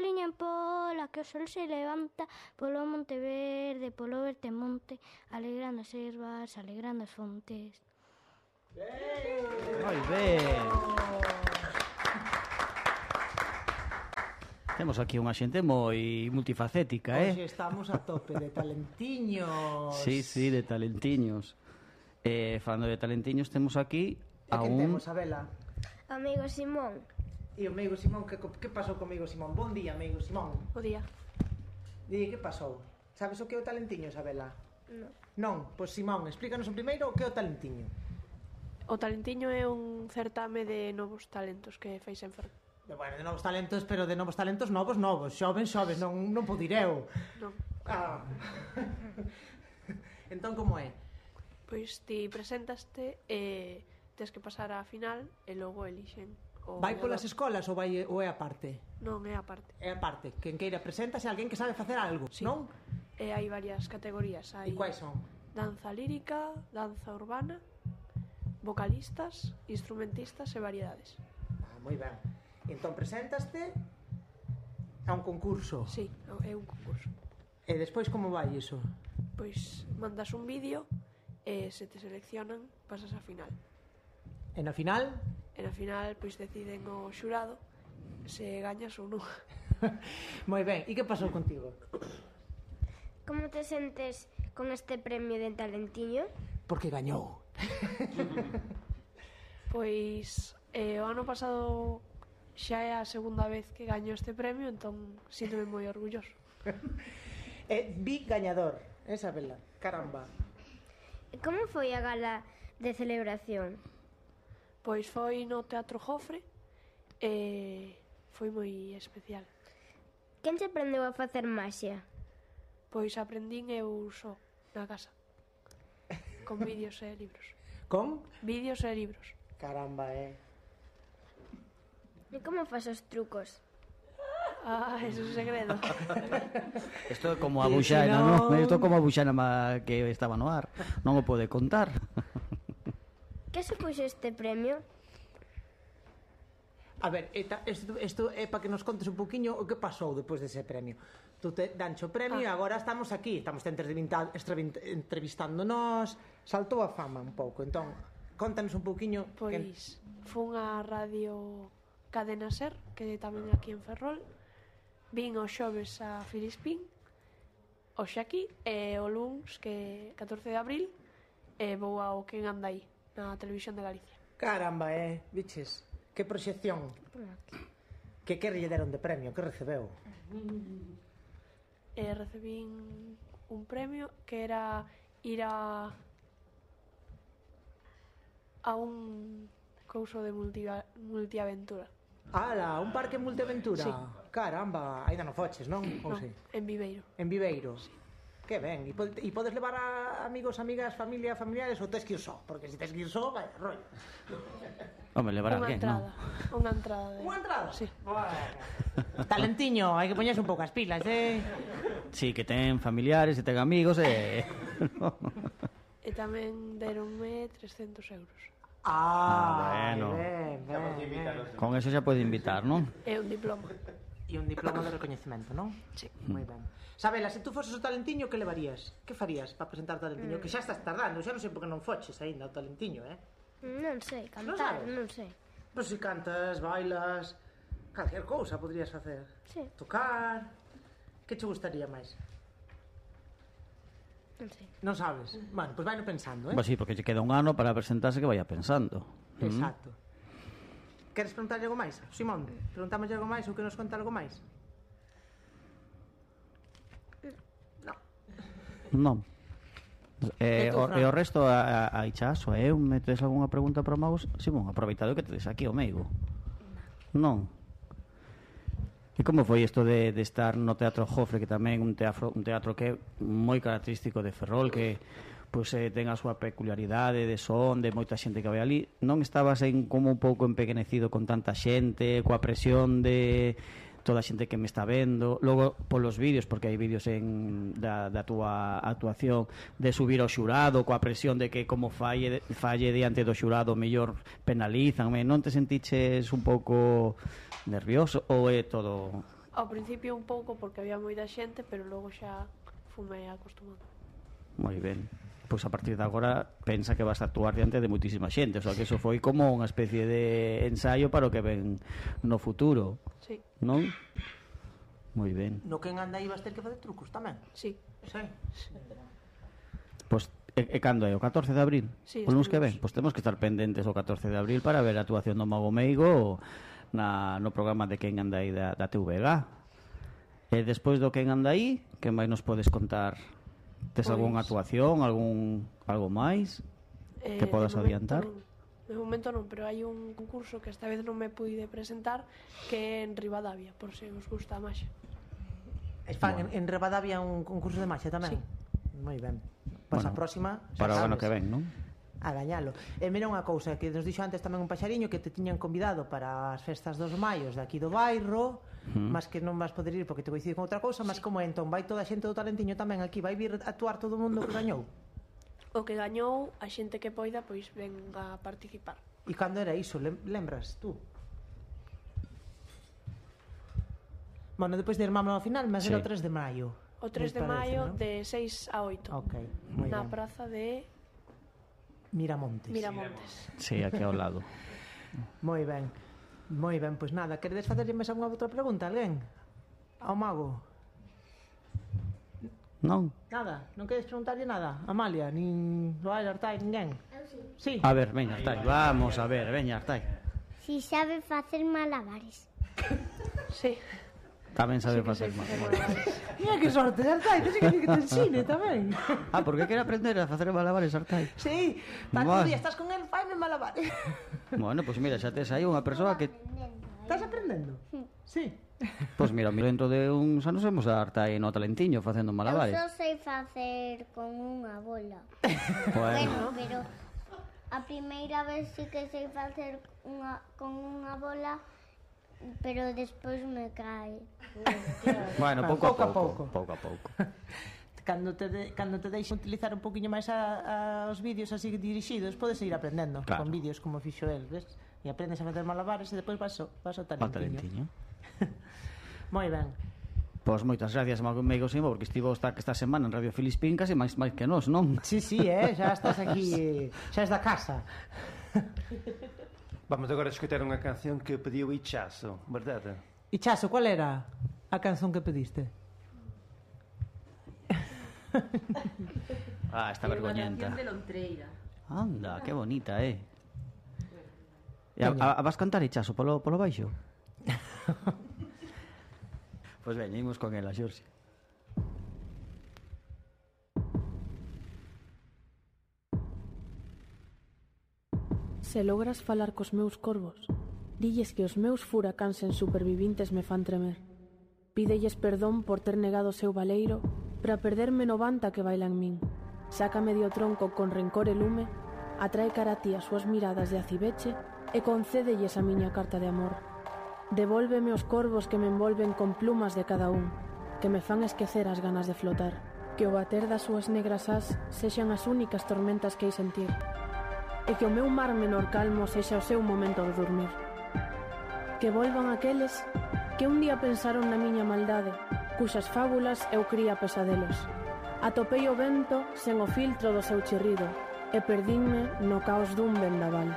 liña en pola, que o sol se levanta polo monte verde, polo verde monte, alegrando as ervas, alegrando as fontes. Moi ben. Temos aquí unha xente moi multifacética, Hoxe estamos a tope de talentiños. Sí, de talentiños. Falando de talentiños, temos aquí E quen temos, Abela? Amigo Simón. E o amigo Simón, que pasou co amigo Simón? Bon día, amigo Simón. Bo día. Di, que pasou? Sabes o que é o talentiños, Abela? Non. Non, pois Simón, explícanos o primeiro o que é o talentiño. O Talentiño é un certame de novos talentos que fais en Ferrol. Bueno, de novos talentos, pero de novos talentos novos, xoves, non podo ir eu. Non. Ah. Entón, como é? Pois ti presentaste e tes que pasar á final e logo elixen o Vai gañador. polas escolas ou é aparte? Non, é aparte. É aparte, quen queira presentase alguén que sabe facer algo, Sí. non? E hai varias categorías. E Hai quais son? danza lírica, danza urbana, vocalistas, instrumentistas e variedades. Moi ben. Entón presentaste a un concurso. Sí, é un concurso. E despois como vai iso? Pois mandas un vídeo e se te seleccionan pasas á final. E na final? E na final pois deciden o xurado se gañas ou non. Moi ben, e que pasou contigo? Como te sentes con este premio de Talentiño? Porque gañou. Pois o ano pasado xa é a segunda vez que gaño este premio, entón síntome moi orgulloso. Vi gañador, esa vela, caramba. Como foi a gala de celebración? Pois foi no Teatro Jofre e foi moi especial. Quen se aprendeu a facer maxia? Pois aprendín eu só na casa con vídeos e libros. Con? Vídeos e libros. Caramba, E como faz os trucos? Ah, eso é un segredo. Isto é como a Buxana, non? Isto é como a Buxana que estaba no ar. Non o pode contar. Que supuxo este premio? A ver, isto é para que nos contes un poquinho o que pasou depois dese premio. Tú te dancho o premio e agora estamos aquí. Estamos entrevistándonos. Saltou a fama un pouco. Entón, contanos un poquinho. Pois fun á radio Cadena Ser, que tamén aquí en Ferrol. Vin os xoves a Filispín, hoxe aquí, e o luns, que 14 de abril, e vou ao Quen anda aí, na Televisión de Galicia. Caramba, biches, que proxección. Que lle deron de premio, que recebeu? Recebín un premio que era ir a un couso de multiaventura. Ala, un parque multiaventura. Sí. Caramba, ainda non foches, non? Ou Non, sí? en Viveiro. En Viveiro. Sí. Que ben, e podes levar a amigos, amigas, familiares ou tes que ir só? Porque se tes que ir só, vai, rollo. Home, levar a quen, non? Unha entrada. Unha entrada? Sí. Bueno. Talentiño, hai que poñerse un pouco as pilas, Sí, que ten familiares e ten amigos e... E tamén deronme 300 euros. Bueno. Ben. Con eso xa pode invitar, non? É un diploma. E un diploma de recoñecemento, non? Sí. Moi ben. Sabela, se tú foses o Talentiño, que levarías? Que farías para presentar o Talentiño? Que xa estás tardando, xa non sei por que non foches aínda o Talentiño, Non sei, Non cantar, sabes? non sei. Pois se cantas, bailas, calquer cousa podrías facer. Sí. Tocar. Que che gustaría máis? Non sei. Non sabes? Bueno, pois vai pensando, Pois sí, porque lle queda un ano para presentarse que vaya pensando. Exacto. Queres preguntarlle algo máis? Simón, preguntamos algo máis ou que nos conta algo máis? Non. E tú, Fran? E o resto a Ichaso, eu metes algunha pregunta para o Magos? Simón, aproveitado que tedes aquí o meigo. Non. E como foi isto de estar no Teatro Jofre, que tamén un teatro que é moi característico de Ferrol, que pois ten a súa peculiaridade de son, de moita xente que vai ali. Non estabas como un pouco empequenecido con tanta xente, coa presión de toda a xente que me está vendo, logo polos vídeos, porque hai vídeos da túa actuación, de subir ao xurado coa presión de que como falle diante do xurado mellor penalízanme, non te sentiches un pouco nervioso ou é todo Ao principio un pouco porque había moita xente, pero logo xa fumei acostumando. Moi ben. Pois a partir de agora pensa que vas a actuar diante de muitísima xente, o sea que eso foi como unha especie de ensaio para o que ven no futuro, Sí, non? Moi ben. No que en anda aí vas ter que facer trucos tamén. sí. Sí. Pois e cando é? O 14 de abril? Sí, O luns que ven? estaremos. Pois temos que estar pendentes o 14 de abril para ver a actuación do Mago Meigo no programa de Quen anda aí da TVG. E despois do Quen anda aí, que máis nos podes contar? Tes Pois- algunha actuación, algo máis que podas adiantar? De momento non, pero hai un concurso que esta vez non me pude presentar, que é en Ribadavia, por se os gusta a maxia. Fan en Ribadavia un concurso de maxia tamén? Sí. Moi ben. Pois a Bueno, próxima para o xa ano sabes. que ven, non? A gañalo. E mira unha cousa que nos dixo antes tamén un paxariño que te tiñan convidado para as festas dos maios de aquí do bairro, mas que non vas poder ir porque te coincide con outra cousa, mas como é, entón vai toda a xente do Talentiño tamén aquí, vai vir a actuar todo o mundo que gañou. O que gañou, a xente que poida, pois venga a participar. E cando era iso, lembras tú? Bueno, depois de Irmámolo ao final, mas Sí. era o 3 de maio. O 3 de me parece, maio ¿no? de 6 a 8 Ok, moi na ben. praza de Miramontes. Miramontes. Sí, aquí ao lado. Moi ben. Moi ben, pois nada, queredes facerlle máis algunha outra pregunta, alguén? Ao mago? Non? Nada, non queres preguntarlle nada? Amalia, nin Joel, Artai, ninguén? Sí. A ver, veña, Artai, vamos a ver, veña, Artai. Si sabe facer malabares. Sí. Tamén sabe Sí que facer sei mal. facer malabares. Mira que sorte, Artai, te que te ensine tamén. Ah, porque quere aprender a facer malabares, Artai? Sí, para Vale. que un día estás con el, faime malabares. Bueno, pois mira, xa tes aí unha persoa que... Estás aprendendo? Sí. Pois mira, dentro de uns anos vemos a Artai no Talentiño facendo Eu malabares. só sei facer con unha bola. Bueno, Bueno, pero a primeira vez sí que sei facer con unha bola, pero despois me cae. bueno, pouco a pouco. Pouco a pouco. Cando te deixen utilizar un poquinho máis os vídeos así dirixidos, podes ir aprendendo Claro. con vídeos como fixo el, ves? E aprendes a facer malabares e depois vas ao O Talentiño. Talentiño. Moi ben. Pois moitas gracias, Mago Meigo Simo, porque estivo esta semana en Radio Filispín casi máis que nós, non? Sí, xa estás aquí, xa es da casa. Vamos agora a escutar unha canción que pediu Ichazo, verdade? E Chaso, cual era a canción que pediste? Ah, esta vergoñenta. de Lontreira. Anda, que bonita, E vas cantar Ichazo polo baixo? Pois veña, imos con ela, Xorxe. Se logras falar cos meus corvos, dilles que os meus furacáns en supervivintes me fan tremer. Pídelles perdón por ter negado o seu valeiro para perderme no vanta que baila en min. Saca medio tronco con rencor e lume, atrae cara a ti as súas miradas de acibeche e concédelles a miña carta de amor. Devólveme os corvos que me envolven con plumas de cada un, que me fan esquecer as ganas de flotar, que o bater das súas negras ás sexan as únicas tormentas que hei sentir, e que o meu mar menor calmo sexa o seu momento de dormir. Que volvan aqueles que un día pensaron na miña maldade, cuxas fábulas eu cría pesadelos. Atopei o vento sen o filtro do seu chirrido e perdínme no caos dun vendaval.